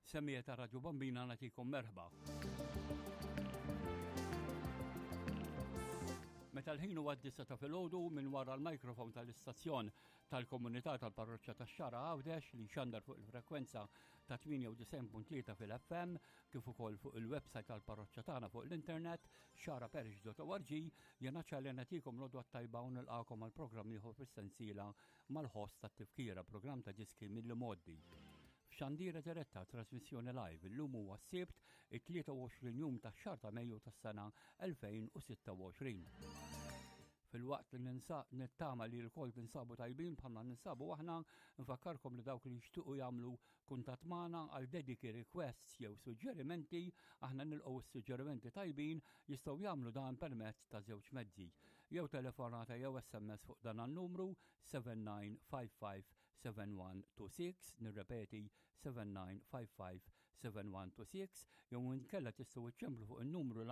Semmiegħa ta' Radju Bambina nagħtikom merħba. Meta l-ħin huwa d-disa ta' filgħodu minn wara l-mikrofon tal-istazzjon tal-komunità tal-parroċċa tax-Xara Għawdex li xandar fuq il-frekwenza ta' 98.3 fil-FM kif ukoll fuq il-website tal-parroċċa tagħna fuq l-internet xaraparish.org jena ċalli nagħtikom l-odwa tajba u nilqakom għal programm ieħor fis-sensiela mal-ħoss tat-tifkira programm ta' diski mill-modi. F'xandira diretta trasmissjoni live illum huwa s-Sibt it-23 jum tax-xahar ta' Mejju tas-sena 2026. Filwaqt li nittama li l-kol tinsabu tajbin bħalma ninsabu aħna, nfakkarkom li dawk li jixtiequ jagħmlu kuntatt magħna għal dediki requests jew suġġerimenti, aħna nilqgħu s-suġġerimenti tajbin jistgħu jagħmlu dan permezz ta' żewġ mezzi. Jew telefonata jew SMS fuq dan an-numru 7955 7126, nirrepeti 7955 7126, jew inkella tistgħu iċċemplu fuq in-numru.